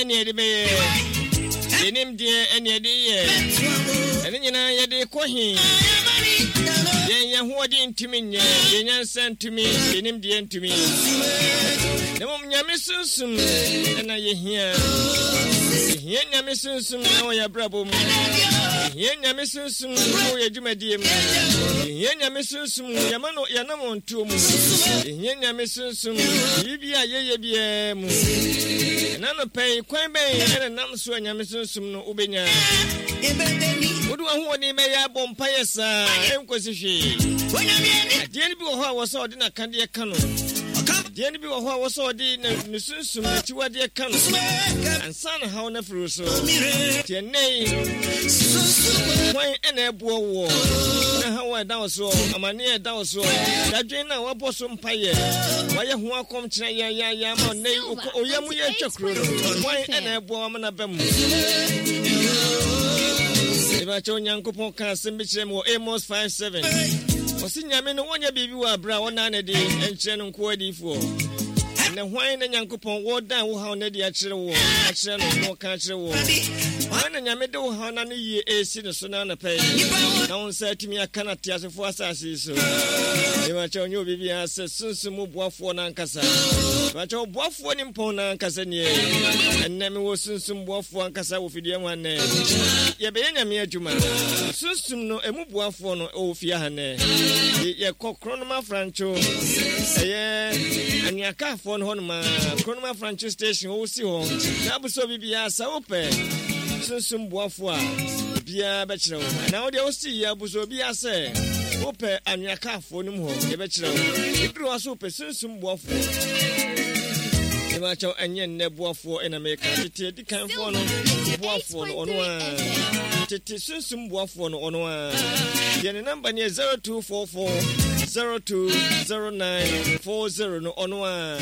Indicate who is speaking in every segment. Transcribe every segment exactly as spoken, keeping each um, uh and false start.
Speaker 1: Ɛne yɛde bɛyɛ, yɛnim deɛ ɛne yɛde yɛ, ɛne nyinaa yɛde kɔ he. Yɛn yɛn hoɔden ntumi nyɛ, yɛn nyansa ntumi, yɛnim deɛ ntumi, na mmom Nyame Sunsum ɛna yɛhia. Yɛhia Nyame Sunsum ɛwɔ yɛn abrabɔ mu, yɛhia Nyame Sunsum ɛwɔ yɛn dwumadie mu, yɛhia Nyame Sunsum yɛma no yɛnam ntuo mu, yɛhia Nyame Sunsum biribi a yɛyɛ biara mu. Ɛna nɔpɛ yi, kwan bɛn ɛna nam so a Nyame Sunsum no wobɛnya? Wode w'ahoɔden bɛyɛ abɔ mpayɛ saa ɛnkɔsi hwee. Adeɛ no bi wɔ hɔ a wɔ sɛ ɔde n'akadeɛ ka no, adeɛ no bi wɔ hɔ a wɔ sɛ ɔde ne sunsum n'akyiwadeɛ ka no ansa na haw no afiri so. Nti ɛnnɛ yi, hwan ɛna ɛboɔ woɔ na haw a ɛda wo soɔ, amanneɛ a ɛda wo soɔ, dadwen no a woabɔ so mpayɛ, wayɛ ho akɔmkyerɛ yɛyɛyɛ ama nnɛ yi ɔyɛ mu yɛ atwa kuro no, hwan ɛna ɛboa wo ama no aba mu? Ɛbɛkyɛ Onyankopɔn ka asɛm bi kyerɛ me wɔ Amos five seven. Ɔse Nyame no wɔnyɛ biribi wɔ aberɛ a ɔnaa no de nkyerɛ no nkoa adiyifoɔ. Ɛnɛ hwan na Nyankopɔn wɔdan wo haw no adi akyerɛ woɔ, akyerɛ no na ɔka akyerɛ woɔ? Hwan na Nyame de wo haw no ano yie ɛresi no so no anɔpɛ yi na wo nsa atumi aka no ateasefoɔ asase yi so? Ɛbɛkyɛ ɔnyɛ obi biara sɛ Sunsum mu boafoɔ no ankasa. Ɛbɛkyɛ ɔboafoɔ ne mpɔn no ankasa nie. Ɛnnɛ mewɔ Sunsum boafoɔ ankasa wɔ fidua mu ha nnɛ. Yɛbɛyɛ Nyame adwuma. Sunsum no ɛmu boafoɔ no ɛwɔ fie ha nnɛ. Yɛkɔ Kronom Afrancho, ɛyɛ Anuakaafoɔ no hɔnom a, Kronom Afrancho station wɔwɔ si hɔ. Na abusɔ biribiara sɛ wopɛ Sunsum boafoɔ a, obiara bɛkyerɛ wo. Na wo deɛ wosi yɛ abusɔ obiara sɛ wopɛ Anuakaafoɔ no mu hɔ, yɛbɛkyerɛ wo. Ɛduru hɔ so wopɛ Sunsum boafoɔ. Ɛmakyɛw ɛnyɛ nnɛ boafoɔ ɛna meka, tete adikanfoɔ no boafoɔ no ɔno a, tete Sunsum boafoɔ no ɔno a. Deɛ ne namba ne yɛ zero two four four zero two zero nine four zero no, ɔno a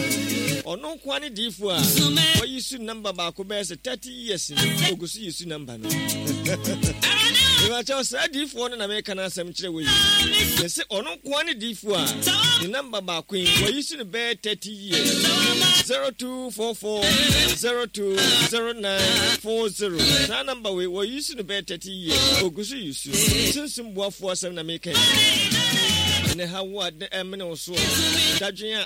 Speaker 1: ɔno nkoa ne diifoɔ a wayi su namba baako bɛyɛ sɛ thirty years ni ogu so yi su namba no. Ìwàkyɛw saa diifoɔ no na meka no asɛm kyerɛ wɔ yi yɛsɛ ɔno nkoa ne diifoɔ a ne namba baako yi wayi su no bɛyɛ thirty years, zero two four four zero two zero nine four zero. Saa namba wei wɔyi su no bɛyɛ thirty years, ogu so yi su. Sunsum boafoɔ asɛm na meka yi. Ɛnɛ ha wo a ɛmene wo soɔ, dadwen a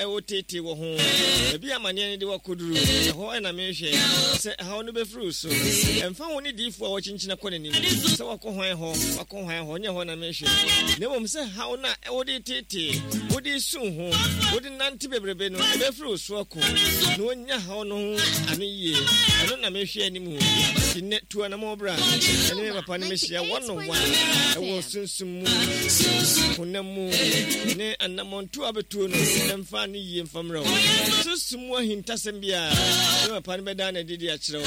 Speaker 1: ɛwɔ tete wɔ ho, baabi amanneɛ no de wakɔduru ɛhɔ ɛna mehwɛ sɛ haw no bɛfiri wo so. Ɛmfa ho ne diifoɔ a wɔkyinkyina kɔ n'anim sɛ wakɔ hwan hɔ, wakɔ hwan hɔ, nyɛ hɔ na mehwɛ, na mmom sɛ haw no a wode tete, wode su ho, wode nante bebrebe no ɛbɛfiri wo so akɔ na wɔnya haw no ho ano yie. Ɛno na mehwɛ anim. Nti nnɛ tu anammɔ bra ɛne me papa no mehyia one on one ɛwɔ sunsum mu, honam mu, ne anammɔnto a bɛtuo no ɛmfa no yie mfa mmerɛ wo. Sunsum mu ahintasɛm biara ne papa no bɛda no adi de akyerɛ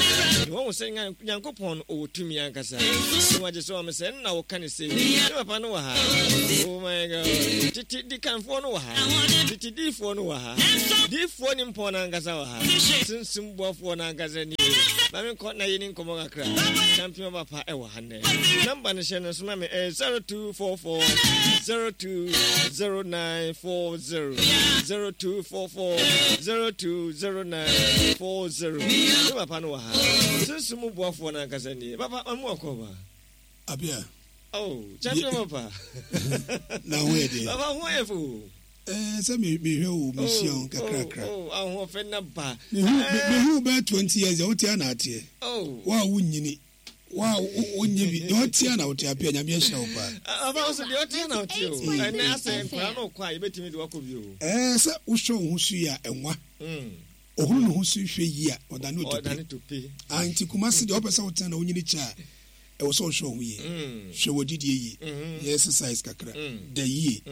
Speaker 1: wo ne wɔhu sɛ Nyankopɔn no ɔwɔ tumi ankasa ne wagye sɛ wame sɛ ɛnna woka ne sei. Ne papa no wɔ ha. Oh my God, tete dikanfoɔ no wɔ ha, tete diifoɔ no wɔ ha, diifoɔ ne mpɔn no ankasa wɔ ha, Sunsum boafoɔ no ankasa nie. Ma menkɔ na yɛni nkɔmmɔ kakra. Champion papa ɛwɔ ha nnɛ. Namba no hyɛ no nso ma me, ɛyɛ zero two four four zero two zero nine four zero, zero two four four zero two zero nine four zero. Ne papa no wɔ ha. Sunsum mu boafoɔ no ankasa nie. Papa, ma mu akɔ ba.
Speaker 2: Abia.
Speaker 1: Oh, champion papa.
Speaker 2: Na ho yɛ deɛ?
Speaker 1: Papa, ho yɛ fo.
Speaker 2: Ɛɛ, sɛ mehwɛ wo, mehyia wo kakrakra.
Speaker 1: Oh, ahoɔfɛ na ba.
Speaker 2: Mehu bɛyɛ twenty years deɛ wote ana ateɛ.
Speaker 1: Oh.
Speaker 2: Wo a wonyini, wo a wonyɛ bi deɛ ɔte ana wote apia. Nyame ahyira wo paa.
Speaker 1: Papa nso deɛ ɔte ana ɔte o. Ɛnɛ asɛ nkwaraa no kɔ a yɛbɛtumi de wakɔ bi o.
Speaker 2: Ɛɛ, sɛ wohwɛ wo ho so yi a, ɛnwa ɔhunu ne ho so hwɛ yi a ɔdane
Speaker 1: ɔdane tope.
Speaker 2: Ah, nti Kumase deɛ, wopɛ sɛ wotena na wonyini kyɛ a, ɛwɔ sɛ wohwɛ wo ho yie, hwɛ wɔ didie yie, yɛ exercise kakra, da yie,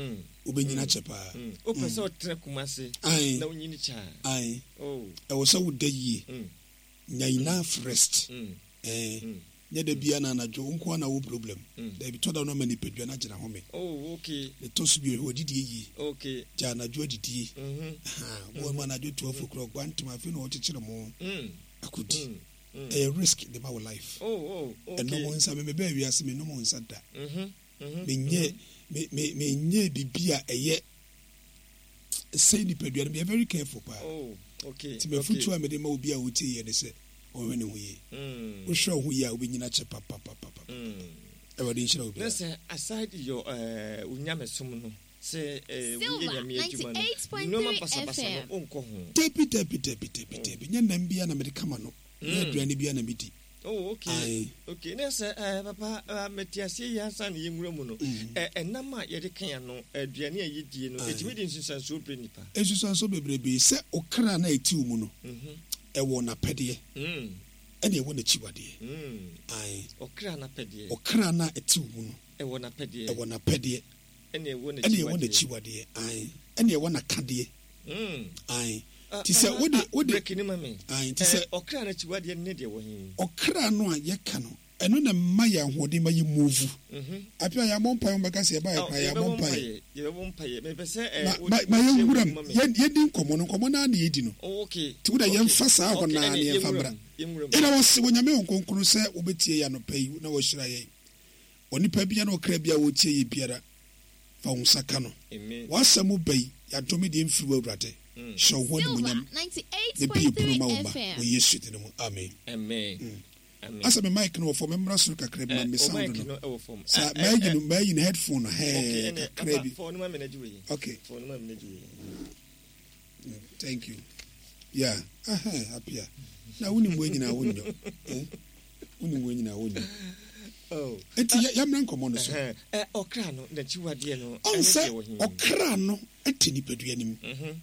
Speaker 2: wobɛnyina kyɛ paa.
Speaker 1: Wopɛ sɛ ɔtena Kumase
Speaker 2: Ae.
Speaker 1: na wonyini kyɛ a.
Speaker 2: Ae.
Speaker 1: Oh.
Speaker 2: Ɛwɔ sɛ woda yie, nya enough rest. Ɛɛ, nyɛ da bia na anadwo wo nko ara na wo problem. Dabi, tɔ da no ama nipadua no agyina home.
Speaker 1: Oh, okay.
Speaker 2: Ne tɔ so bio, hwɛ wɔdidie yie.
Speaker 1: Okay.
Speaker 2: Gya anadwo adidie.
Speaker 1: Mhm.
Speaker 2: Bɔ mu anadwo twelve o'clock wantem, afei na wɔkyekyere mo
Speaker 1: Mm.
Speaker 2: akɔdi, ɛyɛ risk de ma wo life.
Speaker 1: Oh, oh, okay.
Speaker 2: Ɛnom nsa, me mebɛɛ wiase menom nsa da.
Speaker 1: Mhm. Mhm.
Speaker 2: Menyɛ me me menyɛ biribi a ɛyɛ sɛ nipadua no. Meyɛ very careful paa.
Speaker 1: Oh, okay.
Speaker 2: Nti mafotuo a mede ma obi a wotie yɛ ne sɛ Ɔhwɛ ne ho yie.
Speaker 1: Mm.
Speaker 2: Wohwɛ wo ho yie a, wobɛnyina kyɛ papapapapa.
Speaker 1: Mm.
Speaker 2: Awurade nhyira wo
Speaker 1: Na
Speaker 2: biara.
Speaker 1: sɛ aside your uh, onyamesom no sɛ eh, woyɛ
Speaker 3: Silver
Speaker 1: Nyame adwuma no,
Speaker 3: ninety-eight point three
Speaker 1: nneɛma basabasa
Speaker 3: F M.
Speaker 1: no wonkɔ ho?
Speaker 2: Dabi, dabi, dabi, dabi, dabi. Nyɛ nam bia na mede kama no, nyɛ aduane bia na medi.
Speaker 1: Oh, okay.
Speaker 2: Aye.
Speaker 1: Okay, na sɛ eh, papa, eh, mete aseɛ yi ansa na yɛnwura mu no, eh, ɛnam a yɛde ka ano, aduane a yɛdie no,
Speaker 2: Aye.
Speaker 1: ɛtumi de nsunsuansoɔ brɛ nipa?
Speaker 2: Nsusuanso bebrebe sɛ ɔkra na ɛti wo mu no,
Speaker 1: Mhm.
Speaker 2: ɛwɔ n'apɛdeɛ
Speaker 1: Mm.
Speaker 2: ɛne ɛwɔ n'akyiwadeɛ.
Speaker 1: Mm.
Speaker 2: Aye.
Speaker 1: Ɔkra n'apɛdeɛ.
Speaker 2: Ɔkra na ɛti wo mu no,
Speaker 1: ɛwɔ n'apɛdeɛ.
Speaker 2: Ɛwɔ n'apɛdeɛ.
Speaker 1: Ɛne ɛwɔ
Speaker 2: ɛne ɛwɔ
Speaker 1: n'akyiwadeɛ.
Speaker 2: N'akyiwadeɛ, aye, ɛne ɛwɔ n'akadeɛ.
Speaker 1: Mm.
Speaker 2: Aye.
Speaker 1: Ah,
Speaker 2: Nti sɛ
Speaker 1: ah,
Speaker 2: wode
Speaker 1: ah,
Speaker 2: wode
Speaker 1: break ni ma me.
Speaker 2: Aye, nti
Speaker 1: Eh,
Speaker 2: sɛ
Speaker 1: ɔkra n'akyiwadeɛ ne deɛ wɔ he?
Speaker 2: Ɔkra no a yɛka no, ɛno na mma yɛ ahoɔden ma yɛ move.
Speaker 1: Mhm.
Speaker 2: Apia, yɛabɔ mpaeɛ, wɔbɛka sɛ yɛba yɛ
Speaker 1: Oh,
Speaker 2: kora yɛabɔ
Speaker 1: yɛbɛbɔ
Speaker 2: mpaeɛ.
Speaker 1: mpaeɛ, yɛbɛbɔ mpaeɛ. Mepɛ sɛ eh,
Speaker 2: Ma
Speaker 1: wo-
Speaker 2: ma ma
Speaker 1: wokyerɛ
Speaker 2: yɛnwura
Speaker 1: mu
Speaker 2: mu
Speaker 1: ma me.
Speaker 2: yɛn yɛdi nkɔmmɔ no, nkɔmmɔ no ara na yɛdi no.
Speaker 1: Oh, okay.
Speaker 2: Nti wode
Speaker 1: Okay.
Speaker 2: yɛmfa saa hɔ
Speaker 1: Okay,
Speaker 2: naa
Speaker 1: ɛne
Speaker 2: na yɛmfa
Speaker 1: yɛnwura
Speaker 2: mmra.
Speaker 1: mu, yɛnwura mu.
Speaker 2: Ɛna wɔse wɔ Nyame wɔ nkronkron sɛ wobɛtie yɛ anɔpa yi na wɔahyira yɛn. Onipa bia na ɔkra bia wɔtie yɛ biara, fa wo nsa ka no.
Speaker 1: Amen.
Speaker 2: W'asɛm ba yi, yɛadome deɛ mfiri wo. Awurade,
Speaker 1: Mm.
Speaker 2: hyɛ wo ho
Speaker 3: Silver
Speaker 2: animonyam na bie pono ma wo
Speaker 3: ninety-eight point three
Speaker 2: ma
Speaker 3: F M.
Speaker 2: wɔ Yesu din mu, amen.
Speaker 1: Amen. Amen.
Speaker 2: Asɛ me mic no wɔ fam, memmra soro kakra bi ma
Speaker 1: Eh,
Speaker 2: me
Speaker 1: o
Speaker 2: sound
Speaker 1: mic
Speaker 2: no
Speaker 1: no ɛwɔ fam.
Speaker 2: sa.
Speaker 1: Eh, eh,
Speaker 2: Maayi
Speaker 1: eh,
Speaker 2: no, maayi no headphone no
Speaker 1: Okay,
Speaker 2: hɛɛ
Speaker 1: ɛne
Speaker 2: kakra
Speaker 1: papa
Speaker 2: bi.
Speaker 1: fa ɔno ma me na gye wei.
Speaker 2: Okay.
Speaker 1: Fa ɔno ma me na gye wei.
Speaker 2: Thank you. Yeah, aha Apia na wonim wei nyinaa wonyɔ. Eh? Wonim wei nyinaa wonyɔ.
Speaker 1: Oh.
Speaker 2: Enti yɛ- yɛmmra nkɔmmɔ no so.
Speaker 1: Ɛhɛn. Eh, ɔkra no n'akyiwadeɛ no
Speaker 2: ɔn
Speaker 1: ɛne
Speaker 2: sɛ
Speaker 1: deɛ wɔ he?
Speaker 2: Ɔkra no te nipadua no mu.
Speaker 1: Mhm.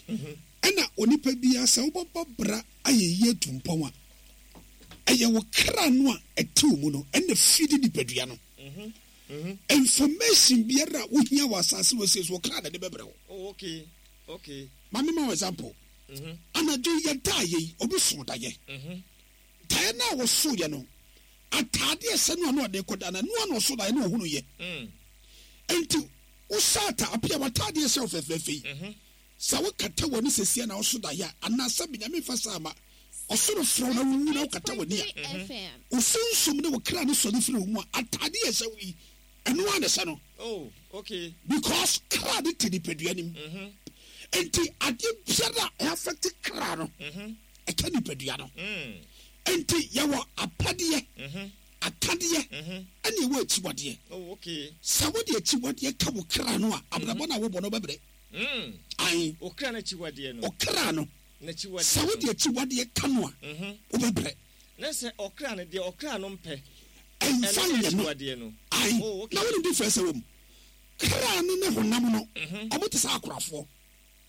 Speaker 1: Mhm.
Speaker 2: Ɛna onipa biara sɛ wobɛbɔ bra ayɛ yie atu mpɔn a, ɛyɛ wo kra no a ɛte wo mu no ɛna fidi nipadua no.
Speaker 1: Mhm. Mhm.
Speaker 2: Information biara a wohia wɔ asase wɔ sie so, wo kra na de bɛbrɛ wo.
Speaker 1: Oh, okay. Okay.
Speaker 2: Ma mema wo example.
Speaker 1: Mhm.
Speaker 2: Anadwo yi yɛdaa yɛ yi, obi so dayɛ.
Speaker 1: Mhm.
Speaker 2: Daeɛ no a wɔsoeɛ no, ataadeɛ sɛ no a na ɔde kɔda no, ɛno a na ɔso daeɛ na ɔhunu yɛ.
Speaker 1: Mm.
Speaker 2: Enti wohyɛ ata apia w'ataadeɛ hyɛ wo fɛfɛɛfɛ yi,
Speaker 1: Mhm.
Speaker 2: sɛ wokata w'ani sɛsia na woso daeɛ a, anaasɛ Benyame fa saa ma ɔsoro frɛ wo na wowu na wokata w'ani a,
Speaker 3: ninety-eight point three F M.
Speaker 2: wo sunsum ne wo kra ne sɔre firi wo mu a, ataadeɛ ɛhyɛ wo yi, ɛno a na ɛhyɛ no.
Speaker 1: Oh, okay.
Speaker 2: Because kra ne te nipadua nim.
Speaker 1: Mhm.
Speaker 2: Enti adeɛ biara a ɛaffect kra no,
Speaker 1: Mhm.
Speaker 2: ɛka nipadua no.
Speaker 1: Mm.
Speaker 2: Enti yɛwɔ apɛdeɛ,
Speaker 1: Mhm.
Speaker 2: akadeɛ,
Speaker 1: Mhm.
Speaker 2: ɛne ɛwɔ akyiwadeɛ.
Speaker 1: Oh, okay.
Speaker 2: Sɛ wode akyiwadeɛ ka wo kra no a, abrabɔ no a wobɔ no wobɛbrɛ.
Speaker 1: Mm.
Speaker 2: Ae.
Speaker 1: Ɔkra n'akyiwadeɛ no.
Speaker 2: Ɔkra no,
Speaker 1: N'akyiwadeɛ
Speaker 2: sɛ
Speaker 1: no.
Speaker 2: wode akyiwadeɛ ka no a,
Speaker 1: Mhm.
Speaker 2: wobɛbrɛ.
Speaker 1: Na sɛ ɔkra no deɛ ɔkra no mpɛ.
Speaker 2: Ɛmfa
Speaker 1: Ɛno ne
Speaker 2: nyɛ no.
Speaker 1: akyiwadeɛ no.
Speaker 2: Ae.
Speaker 1: Oh, okay.
Speaker 2: Na wonim difference wɔ mu? Kra no ne honam no,
Speaker 1: Mhm.
Speaker 2: ɔmo te sɛ akorafoɔ.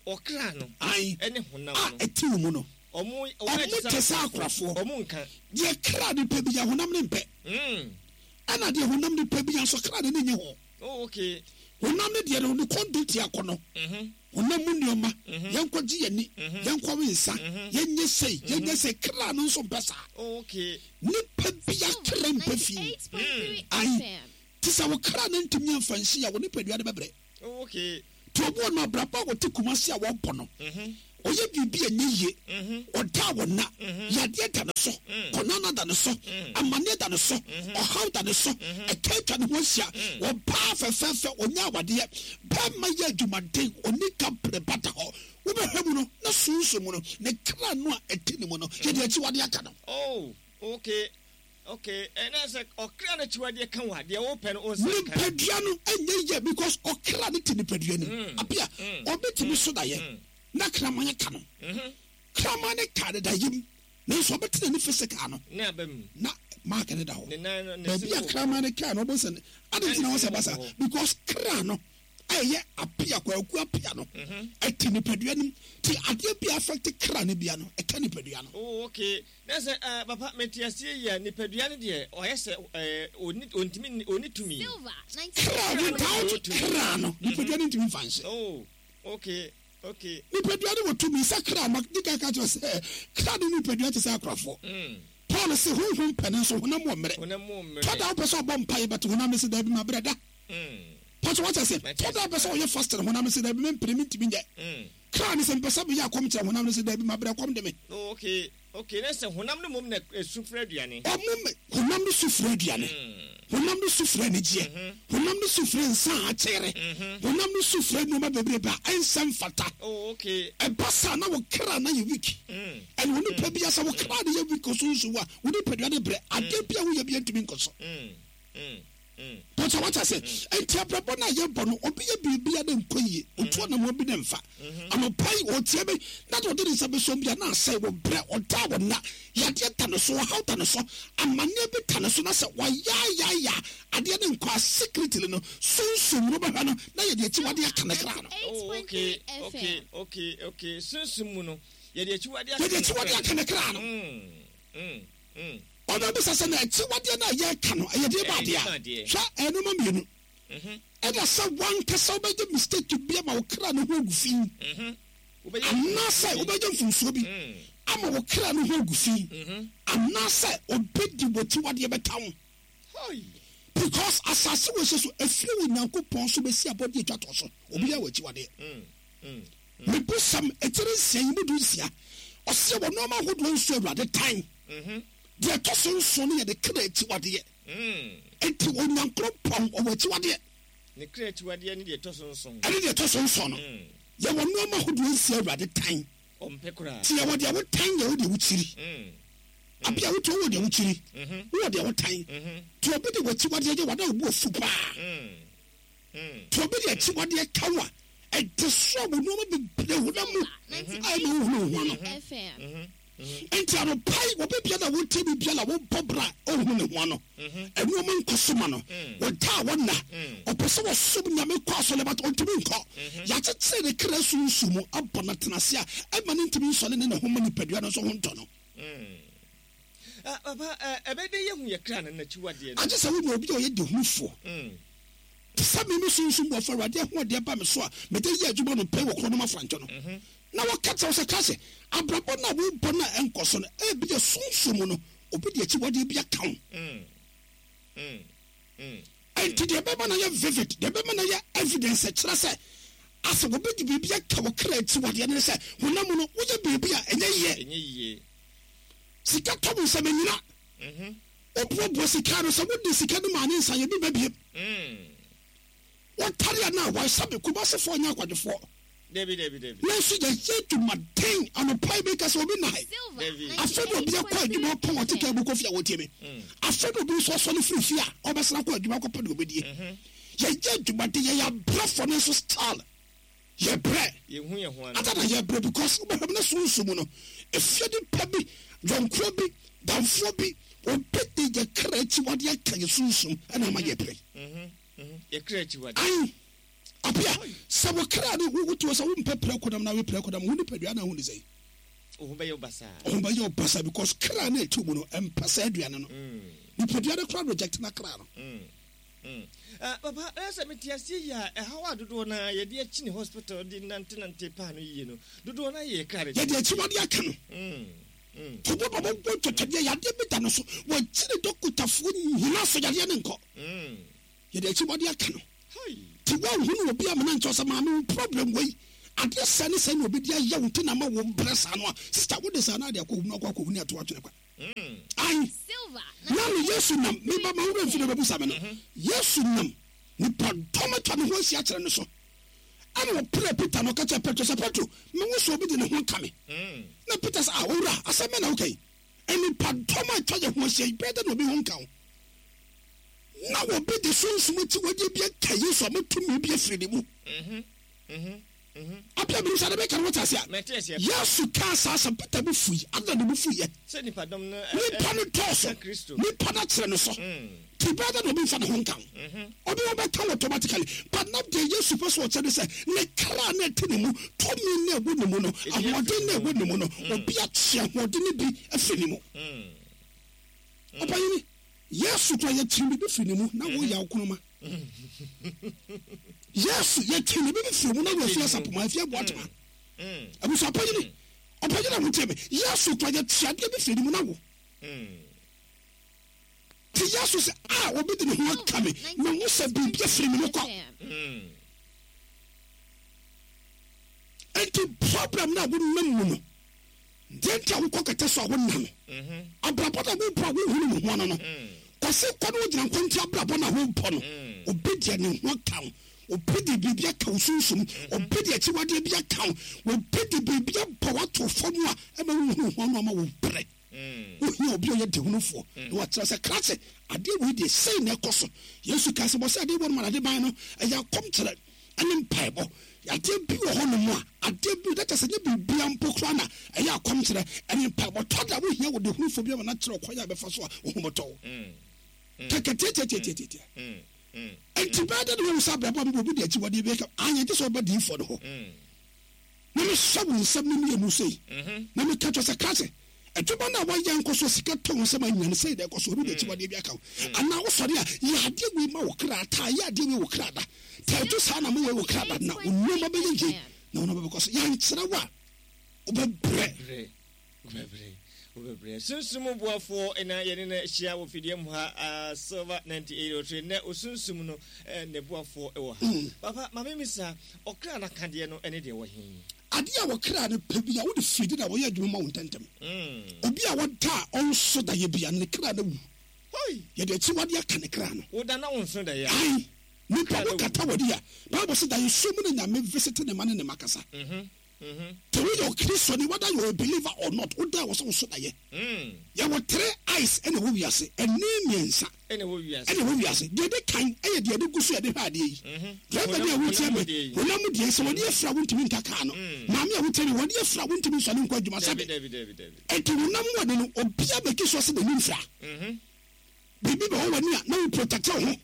Speaker 1: Ɔkra no
Speaker 2: Ae.
Speaker 1: ɛne honam
Speaker 2: A
Speaker 1: no.
Speaker 2: ɛte wo mu no,
Speaker 1: Ɔmo
Speaker 2: ɔmo te sɛ akorafoɔ.
Speaker 1: Ɔmo nka.
Speaker 2: Deɛ kra no pɛ bi ya, honam no mpɛ.
Speaker 1: Mm.
Speaker 2: Ɛna deɛ honam no pɛ bi ya nso, kra no ne nye ho.
Speaker 1: Oh, okay.
Speaker 2: Honam no deɛ no, ne kɔn tia akɔ no,
Speaker 1: Mhm.
Speaker 2: honam mu nneɛma,
Speaker 1: Mhm.
Speaker 2: yɛnkɔgye yɛni,
Speaker 1: Mhm.
Speaker 2: yɛnkɔwe nsa,
Speaker 1: Mhm.
Speaker 2: yɛnyɛ sei, yɛnyɛ sei, kra no nso mpɛ saa.
Speaker 1: Oh, okay.
Speaker 2: Nipa bia kra mpɛ fii.
Speaker 3: ninety-eight point three
Speaker 2: Aye.
Speaker 3: F M.
Speaker 2: Te sɛ wo kra no ntumi amfa nhye a, wo nipadua no bɛbrɛ.
Speaker 1: Oh, okay.
Speaker 2: Nti ɔboɔ no, abrabɔ a wɔte Kumase a wɔbɔ no,
Speaker 1: Mhm.
Speaker 2: ɔyɛ biribi a ɛnyɛ yie.
Speaker 1: Mhm.
Speaker 2: Ɔda a wɔna yadeɛ da ne so, kɔnana da ne so, amanneɛ da ne so, ɔhaw da ne so, ɛka atwa ne ho ahyia. Ɔbaa fɛfɛɛfɛ ɔnyɛ awadeɛ, bɛrima yɛ adwumaden, ɔni ka pere ba da hɔ. Wobɛhwɛ mu no na sunsun mu no, ne kra no a ɛte ne mu no, yɛde akyiwadeɛ aka no.
Speaker 1: Oh, okay. Okay. Ɛna sɛ ɔkra n'akyiwadeɛ ka wo a, deɛ wopɛ no, wo nsa nka.
Speaker 2: Nipadua no ɛnyɛ yɛ because ɔkra no te nipadua no mu. Apia, ɔbɛtumi so dayɛ na kraman ka no.
Speaker 1: Mhm.
Speaker 2: Kraman ne ka ne dayɛ mu, nanso ɔbɛtena ne physical no
Speaker 1: Ne aba mu.
Speaker 2: na mark ne da hɔ.
Speaker 1: Ne nan no, ne
Speaker 2: baabi
Speaker 1: se
Speaker 2: a
Speaker 1: wɔ hɔ.
Speaker 2: kraman ne kaa no, ɔbɔ sɛ ade nti na wɔsɛ basa because kra no a ɛyɛ Apia, Kwaku Apia no, ɛte nipadua no mu, ti adeɛ bi affect kra no bia no, ɛka nipadua no.
Speaker 1: Oh, okay. Na sɛ uh, papa, mete aseɛ yi a, nipadua no deɛ ɔyɛ sɛ eh, ɔni ɔntumi nni- ɔni tumi.
Speaker 3: Silver
Speaker 2: Kra, without kra no, nipadua no ntumi nfa nhyɛ.
Speaker 1: Oh, okay. Okay.
Speaker 2: Nipadua no wɔ tumi sɛ kra ma di ka ka kyerɛ sɛ kra ne nipadua te sɛ akorafoɔ.
Speaker 1: Mm.
Speaker 2: Paul sɛ honhom pɛ ne nso honam wɔ mmerɛ.
Speaker 1: Honam mu mmerɛ.
Speaker 2: Tɔda wopɛ sɛ ɔbɔ mpaeɛ bɛte honam no sɛ daabi, ma berɛ da.
Speaker 1: Mm.
Speaker 2: Pɔtɔ wɔkyɛ sɛ
Speaker 1: Mate.
Speaker 2: tɔda wopɛ sɛ ɔyɛ fasting, honam no sɛ daabi, mempere, mentumi nyɛ.
Speaker 1: Mm.
Speaker 2: Kra ne sɛ mpɛ sɛ meyɛ akɔm kyerɛ honam no sɛ daabi, ma berɛ, kɔm de me.
Speaker 1: Oh, okay. Okay, na sɛ honam no mom na esu frɛ aduane.
Speaker 2: Ɔmo me honam no su frɛ aduane. Honam no su frɛ anigyeɛ. Honam no su frɛ nsa a akyɛre. Honam no su frɛ nneɛma bebrebe a ɛnsɛ mfata.
Speaker 1: Oh, okay.
Speaker 2: Ɛba saa na wo kra na yɛ weak. Ɛna wo nipa bi sɛ wo kra no yɛ weak osunsun a, wo nipadua no brɛ. Adeɛ bi a woyɛ bi ntumi nkɔ so. Pɔtɔ wata sɛ, nti abrabɔ no a yɛbɔ no, obi yɛ biribi a ne nkɔ yie, otu anammɔn bi ne mfa. Anɔpa yi, ɔtie me, na deɛ ɔde ne nsa bɛsɔm bi a na asɛe, wɔ brɛ, ɔda wɔ nna, yadeɛ da ne so, ɔhaw da ne so, amanneɛ bi da ne so, na sɛ wayaayaaya adeɛ ne nkɔ a, secretly no, sunsum no bɛhwɛ no, na yɛde akyiwadeɛ aka ne kra no.
Speaker 1: Oh, okay, okay, okay, okay. Sunsum mu no, yɛde akyiwadeɛ aka
Speaker 2: Yɛde akyiwadeɛ aka ne kra no.
Speaker 1: Mm, mm, mm.
Speaker 2: Ɔbɛbisa sɛ na akyiwadeɛ no a yɛreka no, ɛyɛ deɛ ba
Speaker 1: Ɛyɛ
Speaker 2: adeɛ
Speaker 1: deɛ ba
Speaker 2: a?
Speaker 1: adeɛ.
Speaker 2: Hwɛ, ɛnoma mmienu. Ɛna sɛ wankasa wobɛgye mistake bi ama wo kra no ho agu fi.
Speaker 1: Wobɛyɛ
Speaker 2: Anaasɛ wobɛgye mfomsoɔ bi ama wo kra no ho agu fi. Anaasɛ obi di w'akyiwadeɛ bɛka wo.
Speaker 1: Hoi.
Speaker 2: Because asase wɔ hyɛ so, efiri wɔ Nyankopɔn so bɛsi abɔdeɛ atwa toɔ so. Obi yɛ wɔ akyiwadeɛ. Mebusam etiri nsia yi mu du nsia. Ɔsɛ wɔ nneɛma ahodoɔ nso Awurade tan. Deɛ ɛtɔ so nson no yɛ de kra akyiwadeɛ. Enti Onyankopɔn ɔwɔ akyiwadeɛ.
Speaker 1: Ne kra akyiwadeɛ ne deɛ ɛtɔ so nson.
Speaker 2: Ɛne deɛ ɛtɔ so nson no. Yɛwɔ nneɛma ahodoɔ nsia Awurade tan.
Speaker 1: Ɔmpɛ koraa.
Speaker 2: Ti yɛwɔ deɛ wotan, yɛwɔ deɛ wokyiri. Abi a wotu wɔ deɛ wokyiri. Wowɔ deɛ wotan. Ti obi de w'akyiwadeɛ yɛ wada obu ofu paa. Ti obi de akyiwadeɛ ka wo a, ɛde so a wɔ nneɛma bebree honam mu a ɛma wohunu wo ho ano. Nti anɔpa yi, obi biara a wotie bi biara a wobɔ bra a ɔhunu ne ho ano. Ɛnneɛma nkɔ so ma no. Wɔda a wɔnna. Ɔpɛ sɛ wɔsom Nyame kɔ asɔre but ɔntumi nkɔ. Yɛakyekyere ne kra sunsun mu abɔ no atena ase a ɛma no ntumi nsɔre ne ne ho ma nipadua no nso ho ntɔ no.
Speaker 1: Ah, papa, ɛbɛyɛ dɛ yɛhu yɛ kra no n'akyiwadeɛ no.
Speaker 2: Agye sɛ wonya obi a ɔyɛ dehunufoɔ. Te sɛ me me sunsum bɔfo Awurade ahoɔden ba me so a mede yɛ adwuma no pɛ wɔ kuro no mu afrantɔ no. Na wɔka kyerɛ wo sɛ ka sɛ abrabɔ no a wobɔ no a ɛnkɔ so no, ebi yɛ sunsum mu no, obi de akyiwadeɛ bi aka wo. Enti deɛ ɛbɛma no yɛ vivid, deɛ ɛbɛma no yɛ evidence kyerɛ sɛ asɛ obi de biribi aka wo kra akyiwadeɛ no ne sɛ honam mu no woyɛ biribi a ɛnyɛ yie.
Speaker 1: Ɛnyɛ yie.
Speaker 2: Sika tɔ wo nsɛm anyina. Woboaboa sika no sɛ wode sika no maa ne nsa yɛ bi ba biem. Wɔtare a na wɔahyɛ me Kumasefoɔ nyɛ akwadwofoɔ.
Speaker 1: Dabi, dabi, dabi.
Speaker 2: Nanso yɛyɛ adwumaden anɔpa yi meka sɛ obi nna ha yi.
Speaker 1: Dabi.
Speaker 2: Afei na obi akɔ adwuma ɔpɔn ɔte kaa mu kɔ fie a wɔtie me. Afei na obi nso asɔre firi fie a ɔbɛsra kɔ adwuma akɔpɛ deɛ ɔbɛdie. Yɛyɛ adwumaden, yɛyɛ abrɛfoɔ no nso style. Yɛbrɛ.
Speaker 1: Yɛhu yɛn ho ano.
Speaker 2: Ada na yɛbrɛ because wobɛhwɛ mu na sunsun mu no, efie nipa bi, yɔnkoɔ bi, damfoɔ bi, obi de yɛ kra akyiwadeɛ aka yɛ sunsum ɛna ama yɛbrɛ.
Speaker 1: Yɛ kra akyiwadeɛ.
Speaker 2: Ayi. Apia, sɛ wo kra no wo wotu sɛ wompɛ prɛko nam na we prɛko nam wo nipadua na ho ne sɛ.
Speaker 1: Wo ho bɛyɛ wo basaa.
Speaker 2: Wo ho bɛyɛ wo basaa because kra no ɛtu mu no ɛmpɛ sɛ aduane no. Nipadua no kora reject na kra no.
Speaker 1: Ah, papa, ɛyɛ sɛ mete aseɛ yi a ɛhaw a dodoɔ no a yɛde akyi ne hospital de nantenante paa no yie no, dodoɔ no ayɛ yɛ kra no.
Speaker 2: Yɛde akyiwadeɛ aka no. Tobo ba bɔbɔ twɛtwɛdeɛ yadeɛ bi da no so wɔgyere dɔkotafoɔ nyina so yadeɛ ne nkɔ. Yɛde akyiwadeɛ aka no. Ti wɔnhunu obi amena nkyɛw sɛ maame wo problem wei adeɛ sɛ ne sɛ na obi de ayɛ wo nti na ma wo brɛ saa no a sister wode saa no ade akɔ hunu akɔ akɔhunu ato atwene kwa. Ayi. Na no Yesu nam meba ma wura mfiri bɛbusa me no. Yesu nam nipa dɔm atwa ne ho ahyia kyerɛ no so. Ɛna ɔpere Peter no ɔka kyerɛ Petro sɛ Petro mewo sɛ obi de ne ho aka me. Na Peter sɛ ah owura asɛm bɛn na woka yi? Nipa dɔm atwa yɛ ho ahyia yi bɛyɛ dɛ na obi ho nka wo. Na obi de sunsum akyiwadeɛ bi aka Yesu a motumi bi afiri ne mu. Apia mi nsa de bɛka no wɔte ase a. Yesu kaa saa asɛm Peter bo fui ada ne bo fuiɛ.
Speaker 1: Sɛ nipa dɔm no
Speaker 2: Nipa no dɔɔso. Nipa no akyerɛ no so. Ti bɛyɛ dɛ na obi nfa ne ho nka wo. Obi ho bɛka wo automatically. But na deɛ Yesu pɛ so ɔkyerɛ ne sɛ ne kra na ɛte ne mu, tumi na ɛwɔ ne mu no, ahoɔden na ɛwɔ ne mu no, obi akye ahoɔden no bi afiri ne mu. Ɔpanyini, Yesu kora yɛkyerɛ biribi firi ne mu na woyɛ awokonoma. Yesu yɛkyerɛ biribi firi mu na wɔafi asapoma afi aboatoma. Abusu ɔpanyini, ɔpanyini a wotie me, Yesu kora yɛkyerɛ adeɛ bi firi ne mu na wo. Ti Yesu sɛ a obi de ne ho aka me, mehu sɛ biribi afiri me mu kɔ. Enti problem na wonam mu no, Deɛ nti a wokɔ kɛtɛ so a wonna no, abrabɔ na wobɔ a wohunu wo ho ano no, kɔse kɔ no wogyina nkwanti abrabɔ na wobɔ no, obi deɛ ne ho aka wo, obi de biribi aka wo sunsum, obi de akyiwadeɛ bi aka wo, obi de biribi abɔ wato fam a ɛma wohunu ho ano ama wo brɛ. Wohia obi a ɔyɛ dehunufoɔ na wakyerɛ sɛ krakye adeɛ wei deɛ sei na ɛkɔ so. Yesu ka sɛ bɔ sɛ adeɛ bɔ no ma ade ban no ɛyɛ akɔmkyerɛ ɛne mpaebɔ. Adeɛ bi wɔ hɔ nom a adeɛ bi na kyerɛ sɛ nyɛ biribia mpo koraa na ɛyɛ akɔmkyerɛ ɛne mpaebɔ. Tɔ da wohia wo dehunufoɔ bi ama no akyerɛ ɔkwan a bɛfa so a wo ho bɛtɔ wo. Kɛkɛ tiatiatiatiatia. Enti bɛyɛ dɛ ne wɔn sɛ abrabɔ a mebɔ obi de akyiwadeɛ bi aka anyɛ gye sɛ ɔba diifoɔ no hɔ. Na mehyɛ wo nsɛm no mmienu sei na meka kyerɛ sɛ krakye adwuma no a wɔyɛ nkɔ so sika tɔ wo nsɛm anya no sei na ɛkɔ so obi de akyiwadeɛ bi aka wo anaa wosɔre a yɛ adeɛ wei ma wo kra taa yɛ adeɛ wei wo kra da tɛɛto saa na mowei wo kra da na wo nneɛma bɛyɛ yie na wo nneɛma bɛkɔ so. Yɛnkyerɛ wo a wobɛbrɛ.
Speaker 1: Wobɛbrɛ, wobɛbrɛ. Sunsum boafoɔ na yɛne no ahyia wɔ fidie mu ha, Silver ninety-eight point three. Nɛ osunsum no ne boafoɔ wɔ ha. Papa, ma memisa, ɔkra no akadeɛ no ne deɛ wɔ he?
Speaker 2: Adeɛ a wɔkra no pɛ bi a wode fidi na wɔyɛ adwuma ma wo ntɛntɛm. Obi a wɔda a ɔnso da yɛ bia ne kra no wu. Yɛde akyiwadeɛ aka ne kra no.
Speaker 1: Woda na wonso da yɛ.
Speaker 2: Ai, nipa wo kata w'ani a, Bible sɛ da yɛ so mu na Nyame visit ne ma ne ne ma kasa. Te woyɛ Okristoni, whether you are a believer or not, woda wɔ sɛ wo so da yɛ. Yɛwɔ three eyes ɛna ɛwɔ wiase, ɛne mmiɛnsa
Speaker 1: ɛna ɛwɔ wiase.
Speaker 2: Ɛna ɛwɔ wiase. Deɛ ɛdi kan ɛyɛ deɛ ɛde gu so yɛde hwɛ adeɛ yi. Driver bi a wotie me, honam mu deɛ sɛ wɔde afira wontumi nka kaa no. Maame a wotie me, wɔde afira wontumi nsɔre nkɔ adwuma sɛbe. Enti honam mu ade no, obiara bɛki so sɛ n'ani mfira. Biribi bɛ hɔ w'ani a na wo protect wo ho.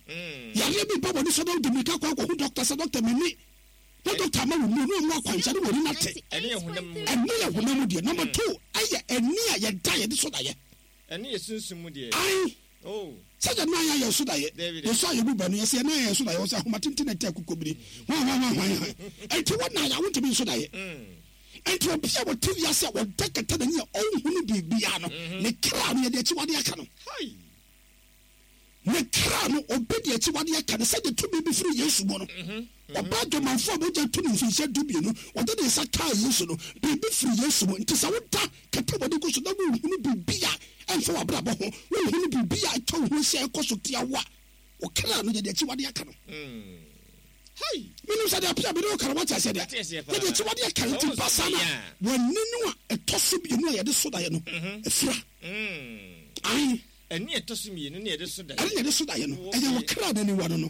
Speaker 2: Yareɛ bi ba w'ani so na wode mmirika kɔ akɔhu doctor sɛ doctor m'ani. Na doctor ama wo nnuro na ɔmu akwankyerɛ ne w'ani nate.
Speaker 1: Ɛne yɛ honam mu.
Speaker 2: Ɛne yɛ honam mu deɛ. Number two ɛyɛ ani a yɛda yɛde so daeɛ.
Speaker 1: Ɛne yɛ sunsum mu deɛ.
Speaker 2: Ae.
Speaker 1: Oh.
Speaker 2: Sɛ yɛ nan ayɛ so daeɛ. Yɛsɔ a yɛbu bɛ no yɛsɛ yɛ nan ayɛ so daeɛ wɔ sɛ ahoma tenten na ɛte akokɔbiri. Hwan hwan hwan hwan hwan. Enti wo nan a wontumi nso daeɛ. Enti obi a wɔte wiase a wɔda kata n'ani a ɔnhunu biribiara no, ne kra no yɛde akyiwade aka no. Ne kra no obi de akyiwade aka no sɛdeɛ tumi bi firi Yesu mu no. Ɔbaa dwamanfoɔ a mogya tu no mfinhyia dumienu, ɔde ne nsa kaa Yesu no, biribi firi Yesu mu. Nti sɛ woda kata w'ani gu so na wonhunu biribi a ɛmfa w'abrabɔ ho, wonhunu biribi a atwa wo ho ahyia a ɛkɔ so tia wo a, wo kra no yɛde akyiwade aka no. Menim sɛ deɛ apia mene wo ka no wate aseɛ deɛ. Yɛde akyiwade aka no nti ba saa na w'ani no a ɛtɔ so mmienu a yɛde so daeɛ no afira. Ae.
Speaker 1: Ɛne ɛtɔ so mmienu ne yɛde so daeɛ.
Speaker 2: Ɛne yɛde so daeɛ no ɛyɛ wo kra n'aniwa no no.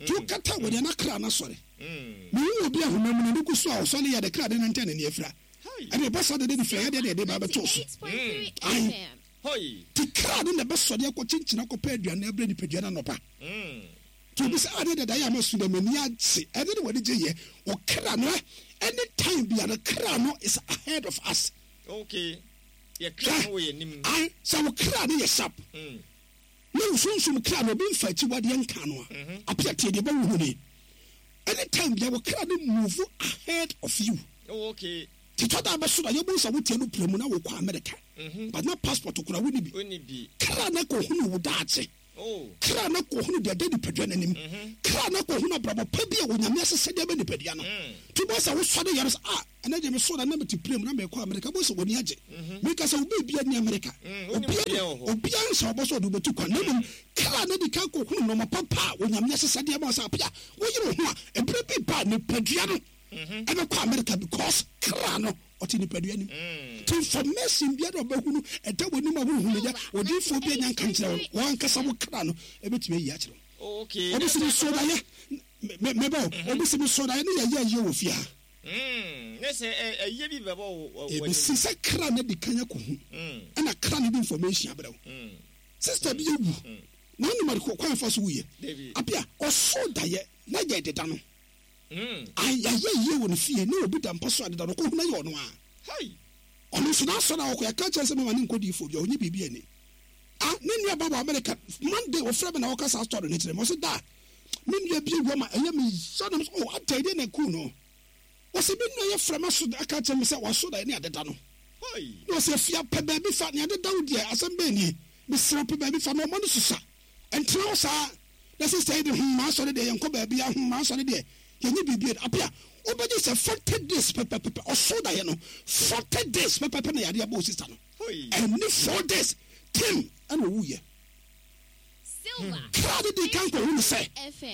Speaker 2: Nti wokata w'ani a na kra no asɔre. Mehu obi a honam mu n'ani gu so a ɔsɔre yɛ de kra de nante a n'ani afira. Ɛne ɛba saa dede de fira yɛdeɛ de ɛde ba bɛto so. Ae. Nti kra no na ɛbɛsɔre akɔ kyenkyena akɔpɛ aduane abrɛ nipadua no anɔpa. Nti obi sɛ adeɛ dada yɛ ama su dɛ m'ani agye ɛne ne wɔde gye yɛ ɔkra no any time bia no kra no is ahead of us.
Speaker 1: Okay. Yɛ kra no wɔ yɛ nim.
Speaker 2: Ae, sɛ wo kra no yɛ sharp na wo sunsum kra no obi mfa akyiwadeɛ nka no a, apia tie deɛ bɛwo hu ni. Any time bia wo kra no move ahead of you.
Speaker 1: Oh, okay.
Speaker 2: Titɔ da bɛso da yɛbu sɛ wotie no pira mu na wokɔ America. But na passport kora wo ni bi. Kra no kɔhunu wo daakye. Kra no kɔhunu deɛ ɛda nipadua no anim. Kra no kɔhunu abrabɔ pa bi a Onyame ahyehyɛ de ama nipadua no. Nti wobɛhu sɛ wosɔre yare sɛ, ah, ɛnɛ deɛ mesɔre a na mete plane mu na merekɔ America. Wobɛhu sɛ w'ani agye. Meka sɛ wo baabiara nni America. Obiara obiara nhyɛ wo bɔ sɛ ɔde wo bɛtu kwan. Na mmom kra no adi kan kɔhunu nnoɔma papa a Onyame ahyehyɛ de ama wo sɛ apia, woyere wo ho a, ɛberɛ bi ba a nipadua no ɛbɛkɔ America because kra no ɔte nipadua nim. Nti information biara a ɔbɛhu no ɛda w'anim a wohu no yɛ odiyifoɔ bi anya nka nkyerɛ wo, wankasa wo kra no ɛbɛtumi ayi akyerɛ wo. Obi si me so daeɛ mebɛ o, obi si me so daeɛ ne yɛyɛ ayie wɔ fie ha. Ɛbɛsi sɛ kra no adi kan akɔhu ɛna kra no de information abrɛ wo. Sister bi awu na wonim ade kwan fa so wuyɛ. Apia ɔso daeɛ na yɛ deda no. Ayɛ yie wɔ ne fie ne obi da mpa so adeda no kɔhu na yɛ ɔno a. Ɔno nso n'asɔre a ɔkɔ yɛka kyerɛ sɛ mama ne nkɔ diifoɔ bi a ɔnyɛ biribi ani. Ah, ne nua ba wɔ America Monday ɔfrɛ me na ɔka saa story no kyerɛ me. Ɔsɛ da me nua bi awu ama ɛyɛ me ya na oh ada deɛ na ɛkuu no. Ɔsɛ me nua yɛ frɛ me so aka kyerɛ me sɛ waso da ne adeda no. Na ɔsɛ afia pɛ baabi fa ne adeda wo deɛ asɛm bɛn nie. Mesrɛ pɛ baabi fa na ɔma no susa. Ɛntena hɔ saa. Na sister yi de hmm m'asɔre deɛ yɛnkɔ baabi a hmm m'asɔre deɛ Yɛnyɛ biribi apia. Wobɛgye sɛ forty days pɛpɛpɛpɛ ɔso daeɛ no forty days pɛpɛpɛ na yadeɛ bɔ sister no. Ɛne four days tim ɛna owuyɛ. Kra de di kan kɔhu no sɛ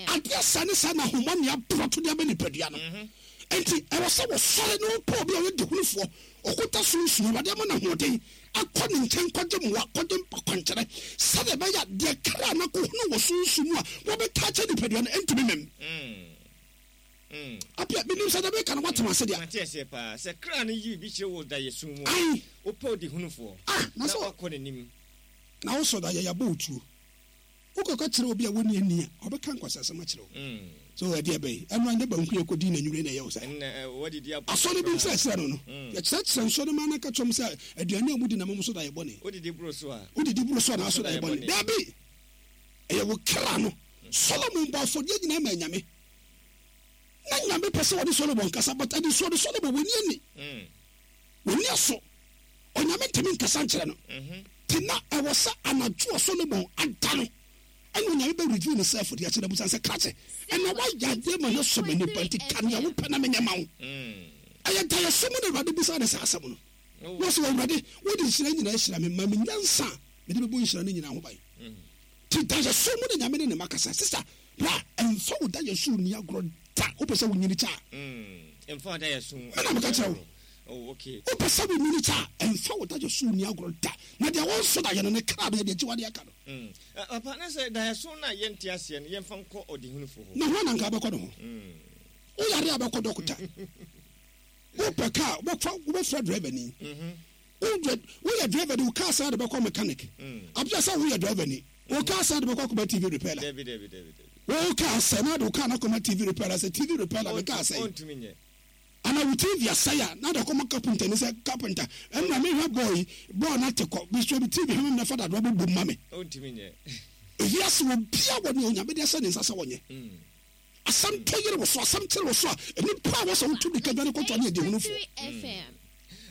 Speaker 2: adeɛ sɛ ne sɛ na ahomɔ ne aborɔto de abɛ nipadua no. Enti ɛwɔ sɛ wɔsɔre ne wopɛ obi a ɔyɛ dehunufoɔ ɔkota sunsun Awurade ama no ahoɔden akɔ ne nkyɛn kɔgye mmoa kɔgye akwankyerɛ sɛdeɛ ɛbɛyɛ a deɛ kra no akɔhunu wɔ sunsun mu a wɔbɛka akyɛ nipadua no ɛntumi mem. Apia menim sɛ dɛbɛka no woatema ase deɛ.
Speaker 1: Mate aseɛ paa sɛ kra no yi bi kyerɛ wɔ daeɛso mu a
Speaker 2: Ai.
Speaker 1: Wopɛ ɔdehunufoɔ
Speaker 2: Ah, na
Speaker 1: na
Speaker 2: sɛ
Speaker 1: wakɔ n'anim.
Speaker 2: Na wosɔ da yɛ yɛabɔ wo tuo. Wokɔka kyerɛ obi a wɔnni ani a ɔbɛka nkwasasɛm akyerɛ wo. So ɛdeɛ bɛyi ɛno anyɛ banku yɛ kɔdii n'anwummerɛ na ɛyɛ wo saa. Asɔre bi nkyerɛkyerɛ no no yɛkyerɛkyerɛ nsɔre no ma no ka kyerɛm sɛ aduane a mudi na mo so da yɛ bɔne.
Speaker 1: Wodidi boro so a
Speaker 2: wodidi boro so a na aso da yɛ bɔne. Daabi, ɛyɛ wo kra no. Solomon bɔ afɔdeɛ nyinaa ma Nyame. Na Nyame pɛ sɛ wɔde Solomon kasa, but ɛde so ɔde Solomon wɔni ani wɔni aso. Onyame ntumi nkasa nkyerɛ no. Te na ɛwɔ sɛ anadwo a Solomon ada no ɛna Onyame bɛ reveal ne self de akyerɛ busan sɛ krakye ɛna wayɛ adeɛ ma no sɔ m'ani ba nti ka nea wopɛ na menyɛ ma wo. Ɛyɛ daeɛso mu na Awurade bisa ne saa asɛm no. Na ɔsɛ Awurade wode nhyira nyinaa ahyira me ma me nyansa a mede bɛbɔ nhyira no nyinaa ho ban. Nti daeɛso mu na Nyame ne ne ma kasa. Sister, bra ɛmfa wo daeɛso nni agorɔ da. Wopɛ sɛ wonyini kyɛ a
Speaker 1: ɛmfa wo daeɛso
Speaker 2: mena meka kyerɛ wo.
Speaker 1: Oh, okay.
Speaker 2: Wopɛ sɛ wonyini kyɛ a ɛmfa wo daeɛso nni agorɔ da. Na deɛ wɔnso daeɛ no ne kra no yɛde akyi wadeɛ aka no.
Speaker 1: Papa, na sɛ daeɛso no a yɛnte aseɛ no yɛmfa nkɔ ɔdehunufoɔ hɔ.
Speaker 2: Na hɔ na nka bɛkɔ ne ho. Woyare a bɛkɔ dɔkota. Wopɛ kaa wobɛfrɛ driver ni. Woyɛ driver ni wo kaa saa de bɛkɔ mechanic. Abia sɛ woyɛ driver ni wo kaa saa de bɛkɔ akɔma T V repair. Wo kaa sɛ na de wo kaa na akɔma T V repair sɛ T V repair me kaa sɛ. Ana wo T V asɛe a na de kɔma carpenter ni sɛ carpenter ɛnna mehwɛ boy boy na te kɔ bisɔ bi T V hwɛ me na fa dadoa bɛbɔ ma me. Ewiase wɔ bia wɔ ne Onyame de ahyɛ ne nsa sɛ wɔnyɛ. Asɛm tɔ yere wɔ so, asɛm kyerɛ wɔ so a nnipa a wɔsɛ wotu de kadwa ne kɔtɔ ne adehunufoɔ.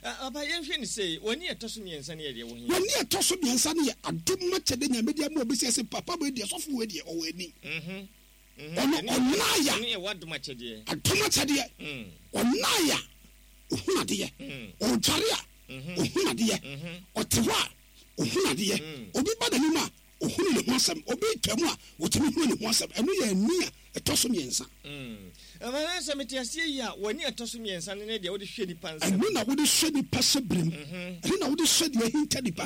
Speaker 1: Papa, yɛnhwɛ ne sɛ w'ani ɛtɔ so mmiɛnsa ne yɛ deɛ wɔ he?
Speaker 2: W'ani ɛtɔ so mmiɛnsa ne yɛ adom akyɛde Nyame de ama obi sɛ sɛ papa wei deɛ sɔfo wei deɛ ɔwɔ ani. Ɔno ɔnaaya.
Speaker 1: Ɛno yɛ w'adom akyɛdeɛ.
Speaker 2: Adom akyɛdeɛ. Ɔnaaya ohun adeɛ. Ɔdware a ohun adeɛ. Ɔte hɔ a ohun adeɛ. Obi ba n'anim a ohunu ne ho asɛm. Obi twa mu a otumi hunu ne ho asɛm. Ɛno yɛ ani a ɛtɔ so mmiɛnsa.
Speaker 1: Ɛma sɛ mete aseɛ yi a w'ani ɛtɔ so mmiɛnsa no ne deɛ wode hwɛ nipa nsɛm.
Speaker 2: Ɛno na wode hwɛ nipa hyɛ berem. Ɛno na wode hwɛ deɛ ahinta nipa.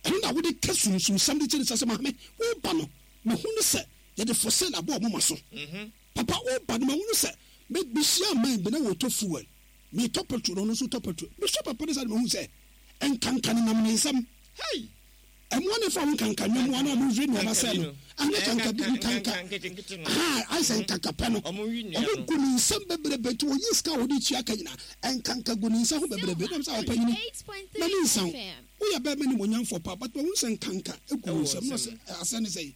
Speaker 2: Ɛno na wode ka sunsumsɛm de kyerɛ sɛ maame woba no mahunu sɛ yɛde fossil abɔ ɔmo ma so. Papa woba no mahunu sɛ mehyia man bi na wɔtɔ fuel. Metɔ petrol na ɔno nso tɔ petrol. Mehwɛ papa no sɛ mahunu sɛ nkanka ne nam ne nsɛm.
Speaker 1: Hey!
Speaker 2: Ɛmoa ne fa wo nkanka nnwom ana ɔmo nwi nneɛma sɛ no. Anyɛ kanka bi nkanka. Ha, ayɛ sɛ nkanka pɛ no. Ɔmo gu ne nsɛm bebrebe nti wɔyi sika a wɔde tua ka nyinaa. Nkanka gu ne nsa ho bebrebe. Nam sɛ ɔpanyini. Na ne nsa ho. Woyɛ bɛrima ne monyamfoɔ pa, but wɔn sɛ nkanka egu wo nsɛm. Na ɔsɛ asɛ ne sɛ.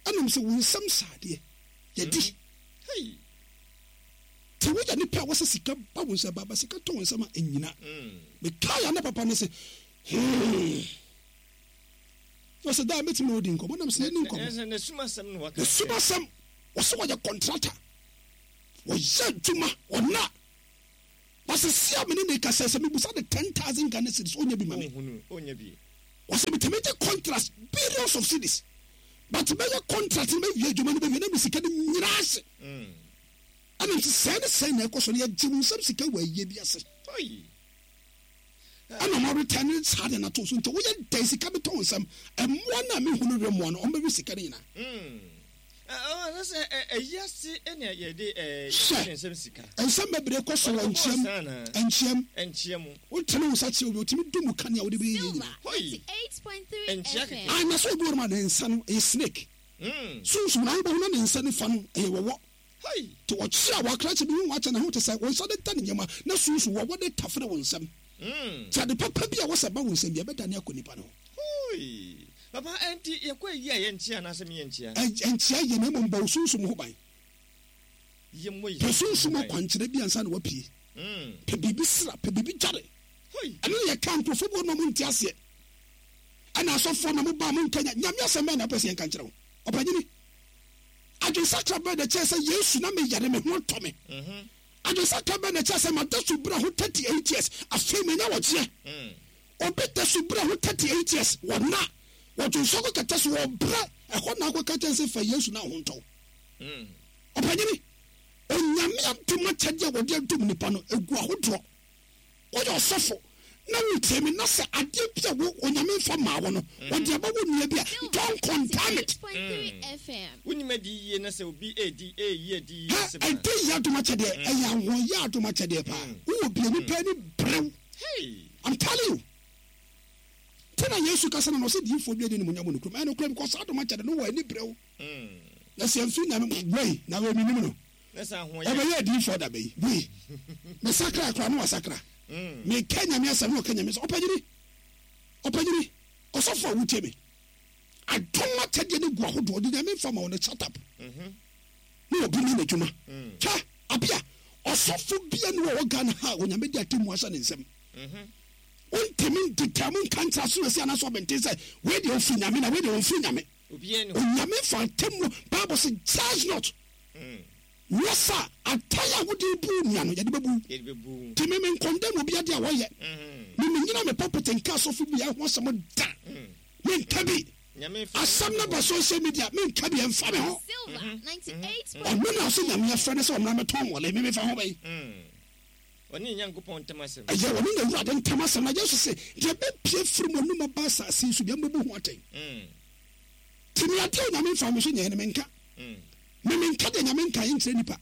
Speaker 2: Ɛnam sɛ wo nsɛm saadeɛ. Yɛdi.
Speaker 1: Hey!
Speaker 2: Ti woyɛ nipa a wɔsɛ sika ba wo nsɛm ba ba sika tɔ wo nsɛm a ɛnyina. Mekaa ya ne papa ne sɛ, hmm. Wɔsɛ daa mɛtumi odi nkɔmmɔ nam sɛ yɛni nkɔmmɔ.
Speaker 1: Ne sumasɛm no waka.
Speaker 2: Ne sumasɛm wɔsɛ wɔyɛ kɔntrata. Wɔyɛ adwuma ɔna. Wɔsɛ sia me ne ne kasa sɛ mebusa de ten thousand Ghana cedis ɔnyɛ bi ma me.
Speaker 1: Ɔnyɛ bi.
Speaker 2: Wɔsɛ metumi gye contract billions of cedis. But mɛyɛ contract no mɛwie adwuma no bɛwie na me sika no nyinaa ase. Ɛna nti sɛɛ ne sɛɛ na ɛkɔ so no yɛgye wo nsɛm sika wɔ ayie bi ase. Ɛna ɔmo return ne saa de na to so nti woyɛ dɛn sika bi tɔ wo nsɛm ɛmmoa no a mehu no we mmoa no ɔmo bɛwe sika no nyinaa.
Speaker 1: Sɛ ɛyi ase ɛna yɛde
Speaker 2: Hwɛ.
Speaker 1: nsɛm sika.
Speaker 2: Nsɛm bebree kɔ so wɔ nkyɛm nkyɛm
Speaker 1: Nkyɛm.
Speaker 2: wotene wo nsa kyerɛ obi otumi du mu kanea wode bɛyɛ yie nyinaa.
Speaker 1: Hoi. Nkyia kɛkɛ.
Speaker 2: Ayi na sɛ obi wɔ no ma ne nsa no ɛyɛ snake. Sunsun na ayibɔ ho na ne nsa nifa no ɛyɛ wɔwɔ.
Speaker 1: Hoi.
Speaker 2: Nti ɔkye a wakra kyɛ bi hu wakyɛ ne ho te sɛ wɔn nsa de da ne nneɛma na sunsun wɔwɔ de tafere wɔn nsam. Nti ade papa bi a wɔsɛ ba wɔn nsam bi ɛbɛdane akɔ nipa no ho.
Speaker 1: Hoi. Papa ɛnti yɛkɔ ayi a yɛnkyia anaasɛ meyɛnkyia?
Speaker 2: Ɛnkyia yɛ na mmom bɔ wo sunsum ho ban.
Speaker 1: Yɛmmɔ yɛ
Speaker 2: Pɛ sunsum akwankyerɛ bi ansa na wapue. Pɛ biribi sra, pɛ biribi dware.
Speaker 1: Hoi.
Speaker 2: Ɛno na yɛka nkurɔfoɔ bi wɔ na ɔmo nte aseɛ. Ɛna asɔfoɔ na mo ba mo nka nya Nyame asɛm bɛn na wopɛ sɛ yɛnka nkyerɛ wo? Ɔpanyini. Adwensakra bɛn na kyerɛ sɛ Yesu na meyare me ho tɔ me? Adwensakra bɛn na kyerɛ sɛ mada so bra ho thirty eight years, afei manya wɔgyeɛ? Obi da so bra ho thirty eight years, wɔna wɔdwonsɔ kɔ kɛtɛ so, wɔbrɛ ɛhɔ na akɔka kyɛn sɛ fa Yesu na ho ntɔ. Ɔpanyini, Onyame adom akyɛdeɛ a wɔde adom nipa no egu ahodoɔ. Woyɛ ɔsɔfo na wotie me na sɛ adeɛ bi a wo Onyame mfa maa wo no, wɔde aba wo nua bi a, don't condemn it.
Speaker 1: Wonim adi yie na sɛ obi edi eyi adi yie
Speaker 2: sɛ ɛde yɛ adom akyɛdeɛ, ɛyɛ ahoɔyɛ adom akyɛdeɛ paa. Wowɔ bie nipa ani brew. I'm telling you. Nti na Yesu kasa na na ɔsɛ diifoɔ bi adi ne munyam wɔ ne kurom. Ɛyɛ nokorɛ because saa adom akyɛdeɛ no wɔ ani brew. Na sɛ mfiri Nyame wei na wei menim no. Ɔbɛyɛ adiyifoɔ da bɛyi wei. Mesakra koraa na wasakra. Meka Nyame asɛm na ɔka Nyame asɛm. Ɔpanyini, ɔpanyini, ɔsɔfo a wotie me. Adom akyɛdeɛ no gu ahodoɔ de Nyame mfa ma wo no, shut up. Na obi ne n'adwuma. Hwɛ, abia, ɔsɔfo bia ne wɔ Ghana ha a Onyame de atemmu ahyɛ ne nsam. Wontumi ndeda mu nka nkyerɛ aso asi anaasɛ ɔbɛnten sɛ wei deɛ ɔfiri Nyame na wei deɛ ɔmfiri Nyame. Onyame fa atemmu, Bible sɛ judge not. Nyɛ sa atan a wode bu nua no yɛde bɛbu. Nti me menkɔndɛm obi ade a wɔyɛ. Me menyina me pulpit nka asɔfo bi ho asɛm da. Menka bi. Asɛm no ba social media menka bi, ɛmfa me ho. Ɔno na ɔsɛ Nyame afrɛ no sɛ ɔmmra mɛtɔn mmɔle, me mefa ho bɛyi.
Speaker 1: Ɔne Nyankopɔn ntam asɛm.
Speaker 2: Ɛyɛ ɔne n'Awurade ntam asɛm. Na Yesu se, deɛ bɛpie firi mo anum aba asase yi so deɛ mobɛbu ho atɛn. Nti me adeɛ a Onyame mfa me so nyɛɛ no menka. Me menka deɛ Nyame nka nkyerɛ nipa.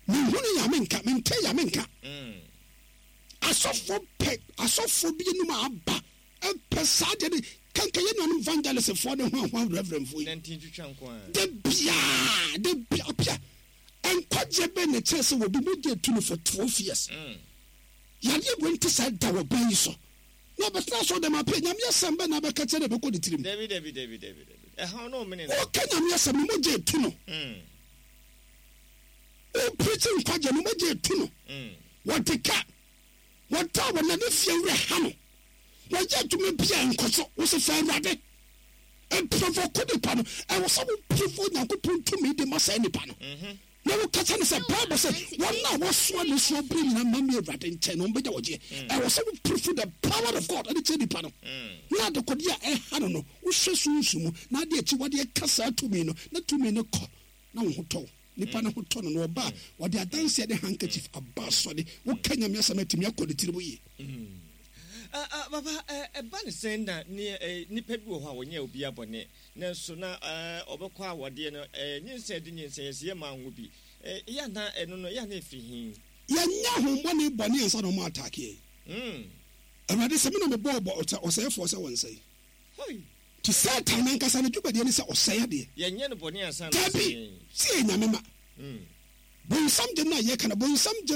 Speaker 2: Menhunu yɛ a menka, mente yɛ a menka. Asɔfoɔ pɛ, asɔfoɔ bi anum a aba pɛ saa deɛ ne kanka yɛ nuanom evangelistfoɔ ne ho ahoa reverendfoɔ yi. Da biaa, da biaa, ɔpia. Nkwagyeɛ bɛn na ɛkyerɛ sɛ wɔbi mogya etu no for twelve years? Yadeɛ wei nte saa da wɔ bɛn yi so. Na ɔbɛtena asɔre dɛm apɛ Nyame asɛm bɛn na abɛka kyerɛ na ɛbɛkɔ ne tirim?
Speaker 1: Dabi, dabi, dabi, dabi, dabi. Ɛhaw no ɔmene no.
Speaker 2: Ɔka Nyame asɛm no mogya etu no. Ɔpirikyi nkwagyeɛ no mogya etu no. Wɔde ka, wɔda wɔ nane fie werɛ ha no. Wɔyɛ adwuma bi a nkɔ so. Wɔsɛ fa Awurade. Ɛprovoke nipa no. Ɛwɔ sɛ wo provoke Nyankopɔn tumi de ma saa nipa no. Na woka kyerɛ no sɛ Bible sɛ wɔn a wɔsoa ne soɔ bere nyinaa ma me Awurade nkyɛn na wɔbɛgya wɔgyeɛ. Ɛwɔ sɛ wo prove the power of God ɛde kyerɛ nipa no. Na adekodeɛ a ɛha no no, wohwɛ sunsum mu na ade akyiwadeɛ ka saa tumi no, na tumi no kɔ na wo ho tɔ wo. Nipa no ho tɔ no na ɔba a, wɔde adanseɛ de handkerchief aba asɔre. Woka Nyame asɛm atumi akɔ ne tirim yie.
Speaker 1: Papa, ɛba ne sɛn na nipa bi wɔ hɔ a wɔnyɛ obi abɔne, nanso na ɔbɛkɔ awadeɛ no, nyinsɛn de nyinsɛn yɛsɛ yɛ maa ngo bi. Yɛ na ɛno no, yɛ na ɛfiri he?
Speaker 2: Yɛnyɛ ahombɔne bɔne ansa na ɔmo ataake yɛn. Awurade sɛ me na mebɔɔ bɔ ɔsɛefoɔ sɛ wɔnsɛe. Nti Satan nankasa ne dwumadie ne sɛ ɔsɛe adeɛ.
Speaker 1: Yɛnyɛ no bɔne ansa na
Speaker 2: Dabi,
Speaker 1: ɔsɛe yɛn.
Speaker 2: sɛ yɛ Nyame ma. Bonsam gyem no a yɛka no, bonsam gyem